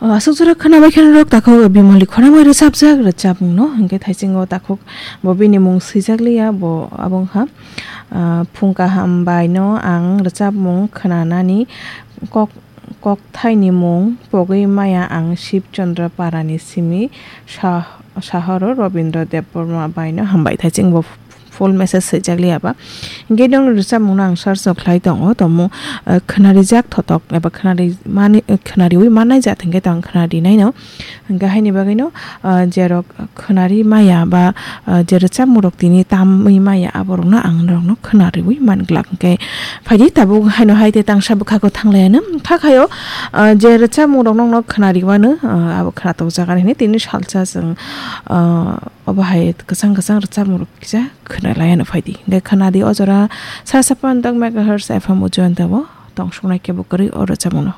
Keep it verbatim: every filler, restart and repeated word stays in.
O, aswk jora khwnabai khe norok takhuk Bimoli khorangwi rwchapjak rwchapmungno, hwnkhe thaisingo takhuk bo bini mung swijak liya, bo abo wngkha, ah, phung kaham baino ang rwchapmung khwnanani kok, kokthaini mung pogwi maya ang Shib Chandra Parani simi sah-, sahoro Robindra Debbarma baino hambai. Thaising bo full message swijak liya ba. Hingke nong rwchapmungno ang search o khlai tongo, tongmung, eh, khwnarijak thotok eba khwnari mani, eh, khwnariwi mannai jat hingke tong khwnarinaino. Hingke haini bagwino, eh, jerok khwnari maya ba, eh, je rwchapmungrok tini tamwi maya aborokno ang norokno khwnariwi manglak. Hingke phaidi tabuk haino hai te tangsa bwkhako thanglaiano. Kha khayo, eh, je rwchapmungrok nokno khwnariwano, eh, abo khwnatok jaga hinwi tini salsa chwng, eh, Obo hai kwchang kwchang rwchapmung rok kisa khwnalai ano phaidi. Hingke khwnadi o jora sara saphan dok megahertz F M o join tabo tong suknai kebo kwrwi o rwchapmung no.